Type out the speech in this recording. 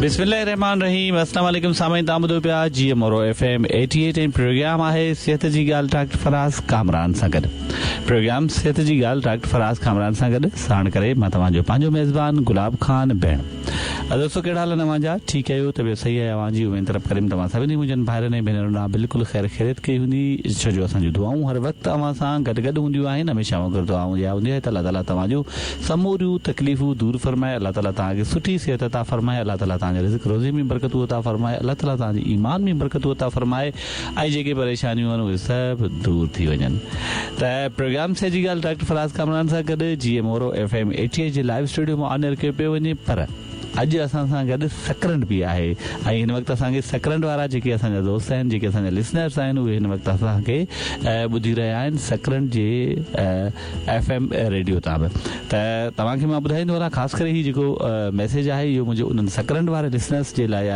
بسم الله الرحمٰن الرحيم السلام عليڪم سامعين توهان ٻڌو پيا جي مورو ايف ايم 88 ۽ پروگرام آهي صحت جي ڳالهه ڊاڪٽر فراز ڪامران سان گڏ پروگرام صحت جي ڳالهه ڊاڪٽر فراز ڪامران سان گڏ ساڻ ڪري مان توهان جو پنهنجو ميزبان گلاب خان بهڻ دوستو ڪهڙا حال آهن اوهان جا ٺيڪ آهيو طبيعت صحيح آهي اوهان جي اميد ته رب ڪريم توهان سڀني منهنجن ڀائرن ۽ ڀينرن ڏانهن بلڪل خير خيريت ڪئي هوندي ڇو جو اسان جون دعائون هر وقت اوهان سان گڏ گڏ هونديون آهن هميشه وانگر دعا اها هوندي آهي ته الله تعالي توهان جون سموريون تڪليفون دور فرمائي الله تعالي توهان کي سٺي صحت عطا فرمائي الله تعالي توهان جي رزق روزي ۾ برڪتون عطا فرمائي الله تعالي توهان جي ايمان ۾ برڪتون عطا فرمائي ۽ جيڪي پريشانيون آهن اهي سڀ دور ٿي وڃن ته پروگرام صحت جي ڳالهه ڊاڪٽر فراز ڪامران سان گڏ جي ايم مورو ايف ايم 88 جي لائيو اسٽوڊيو مان آن ايئر ڪيو پيو وڃي پر اڄ اسان سان گڏ سڪرنڊ به آهي ۽ هن وقت اسان کي سڪرنڊ وارا جيڪي اسان جا دوست آهن جيڪي اسان جا لسنرس آهن اهي هن وقت اسان کي ٻڌي رهيا آهن سڪرنڊ جي ايف ايم ريڊيو تان به ته توهان کي مان ٻڌائيندو هلان خاص ڪري هي جيڪو ميسيج آهي اهو منهنجو انهن سڪرنڊ واري لسنرس جي لاء آهي.